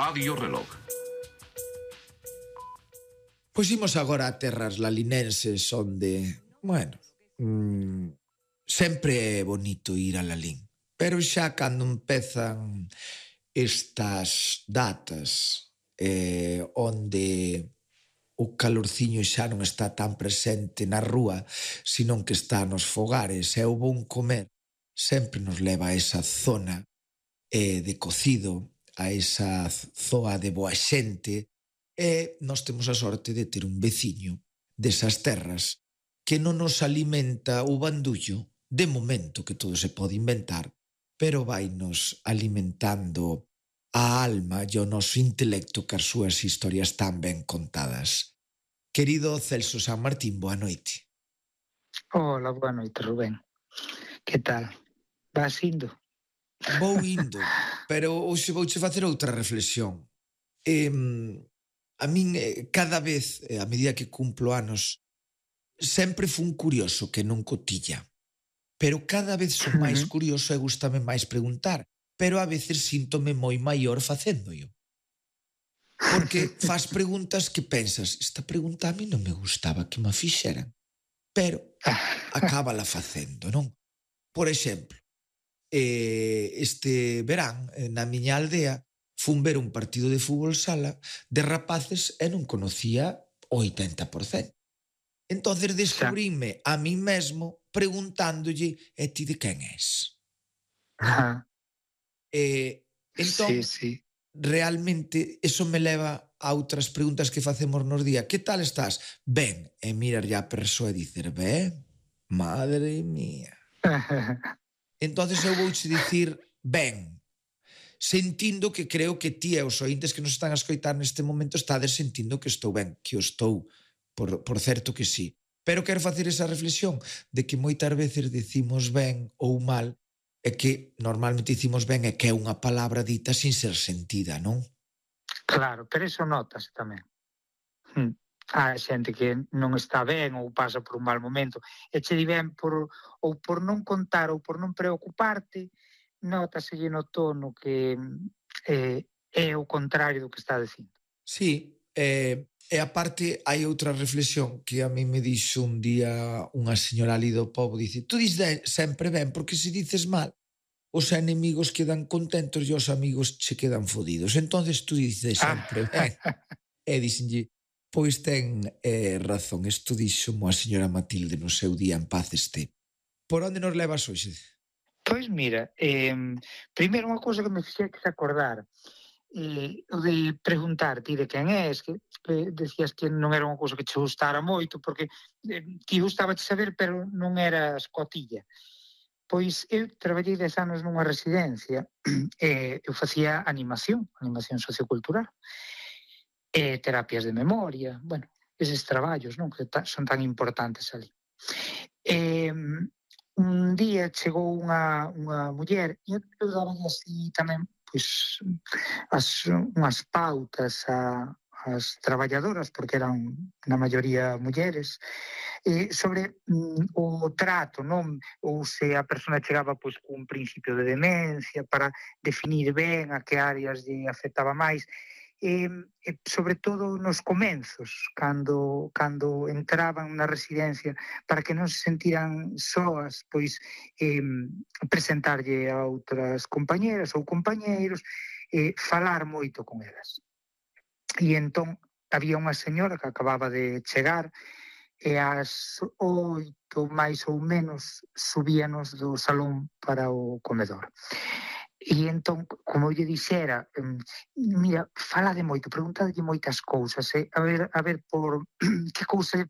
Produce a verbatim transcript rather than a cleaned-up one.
Radio Reloj. Pois imos agora a terras lalinenses onde, bueno, mmm, sempre é bonito ir a Lalín, pero xa cando empezan estas datas eh, onde o calorciño xa non está tan presente na rúa, senón que está nos fogares e o bon comer sempre nos leva a esa zona eh, de cocido, a esa zoa de boa xente, e nós temos a sorte de ter un veciño desas terras que non nos alimenta o bandullo, de momento que todo se pode inventar, pero vai nos alimentando a alma e o noso intelecto que as súas historias tan ben contadas. Querido Celso San Martín, boa noite. Hola, boa noite, Rubén. Que tal? Vas indo? Vou indo, pero hoxe vouche facer outra reflexión. Eh, a min, eh, cada vez, eh, a medida que cumplo anos, sempre fun curioso que non cotilla. Pero cada vez son máis curioso e gústame máis preguntar, pero a veces síntome moi maior facéndoio. Porque faz preguntas que pensas, esta pregunta a mí non me gustaba que me fixeran, pero acábala facendo, non? Por exemplo, eh, este verán, na miña aldea, fun ver un partido de fútbol sala de rapaces e non conocía o oitenta por cento. Entonces descubríme a mí mesmo preguntándolle, e ti de quen és? Ajá. Eh, entón, Sí, sí. realmente, eso me leva a outras preguntas que facemos nos día. Que tal estás? Ben, e mirar ya a persoa e dicer, ben, madre mía. Entonces eu vouche dicir, ben, sentindo que creo que ti e os ointes que nos están a escoitar neste momento estades sentindo que estou ben, que o estou, por, por certo que sí. Pero quero facer esa reflexión de que moitas veces decimos ben ou mal e que normalmente dicimos ben e que é unha palabra dita sin ser sentida, non? Claro, pero iso notase tamén. Hm. Há xente que non está ben ou pasa por un mal momento e che di ben por, ou por non contar ou por non preocuparte, nótaselle no tono que eh, é o contrario do que está dicindo. Sí, eh, e aparte hai outra reflexión que a mí me dixo un día unha señora ali do pobo, dice, tú dis sempre ben porque se dices mal os enemigos quedan contentos e os amigos che quedan fodidos. Entonces tú dices sempre ben. E dixenlle, pois ten eh, razón, isto dixo a señora Matilde no seu día, en paz este. Por onde nos levas hoxe? Pois mira, eh, primeiro unha cousa que me fixeches acordar, eh, o de preguntar ti de quen és, que eh, decías que non era unha cousa que che gustara moito, porque eh, ti gustaba de saber, pero non eras cotilla. Pois eu traballei dez anos nunha residencia e eu facía animación, animación sociocultural, e terapias de memoria, bueno, eses traballos, non, que ta, son tan importantes ali. E un día chegou unha, unha muller e eu, eu daba así tamén pois, as, unhas pautas a, as traballadoras, porque eran na maioría mulleres, eh, sobre mm, o trato, non? Ou se a persona chegaba pois, cun principio de demencia, para definir ben a que áreas lle afectaba máis, e, e sobre todo nos comenzos, cando, cando entraban na residencia, para que non se sentiran soas, pois eh, presentarlle a outras compañeras ou compañeiros, eh, falar moito con elas. E entón había unha señora que acababa de chegar e ás oito máis ou menos subíanos do salón para o comedor. E entón, como eu lle dixera, mira, fala de moito, pregúntadelle moitas cousas, eh? a ver, a ver por que cousa